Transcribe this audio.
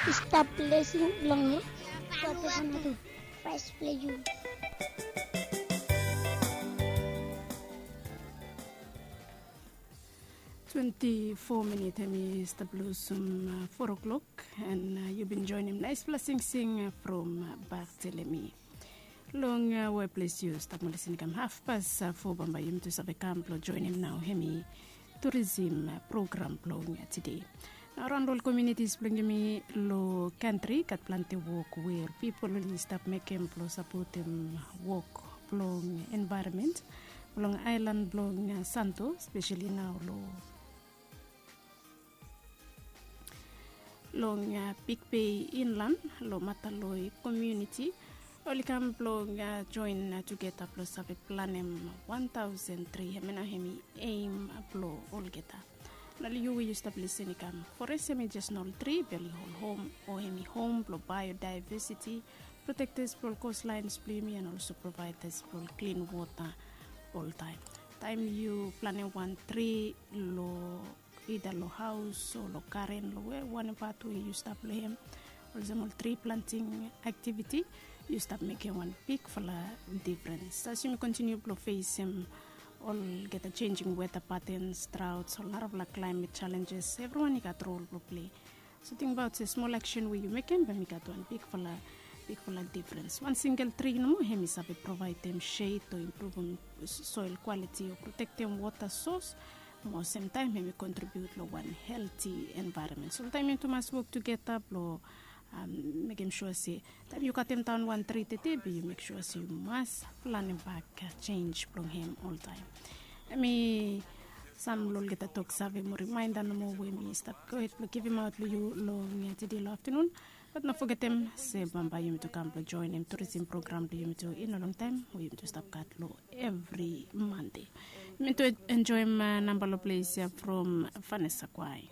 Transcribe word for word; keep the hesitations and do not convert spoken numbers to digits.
Stap blessing long God Vanuatu. Praise bless you. Twenty-four minit hemi stap losum four o'clock, and yu bin joinim naispela singsing from Bartelemi. Long weples yu stap mo lisin i kam hafpas fo, bambae yumi tu save kam blong joinim nao hemi turisim program blong tide. Nao raon long ol komunitis blong yumi long kantri gat planti wok we ol pipol oli stap mekem blong sapotem wok blong envaeronmen blong aelan blong Santo, speseli nao long long Big Bay Inland, long Mataloi komuniti. Oli kam blong joen tugeta blong save planem wan taosen tri. Hemia nao hemi eim blong olgeta. Nao long yu we yu stap lisin i kam, forest hemi jes nao ol tri, be oli hol hom o hemi hom blong biodiversity, protektas blong ol kostlaens blong yumi, and also provaedas blong ol klin wota oltaem. Taem yu planem wan tri long ida long haos o long garen, long we wanem pat we yu stap long hem, olsem ol tri planting aktiviti, yu stap mekem wan bigfala difrens. As yumi kontiniu blong fesem olgeta changing weather patterns, droughts, ol narafala climate challenges, evriwan i gat rol blong plei. So tingbaot se smol aksen we yu mekem bae i gat wan bigfala, bigfala difrens. Wan singel tri nomo hemi save provaedem shed o impruvum soil quality o protektem wota sos, mo semtaem hemi kontribiut long wan helti envaeronmen. So oltaem yumi tu mas wok tugeta blong mekem sua se taem yu katem daon wan tri tede, be yu mek sua se yu mas planem bak jenis blong hem oltaem. Hemi sam long olgeta toksave mo rimaenda nomo we mi stap gohed blong givimaot long yu long tede long aftanun. Bat no fogetem se bambae yumi tu kam blong joenem turisim program blong yumi tu i no longtaem we yumi tu stap gat long evri Mande. Yumi tu enjoem namba long ples ya from Vanessa Kwai.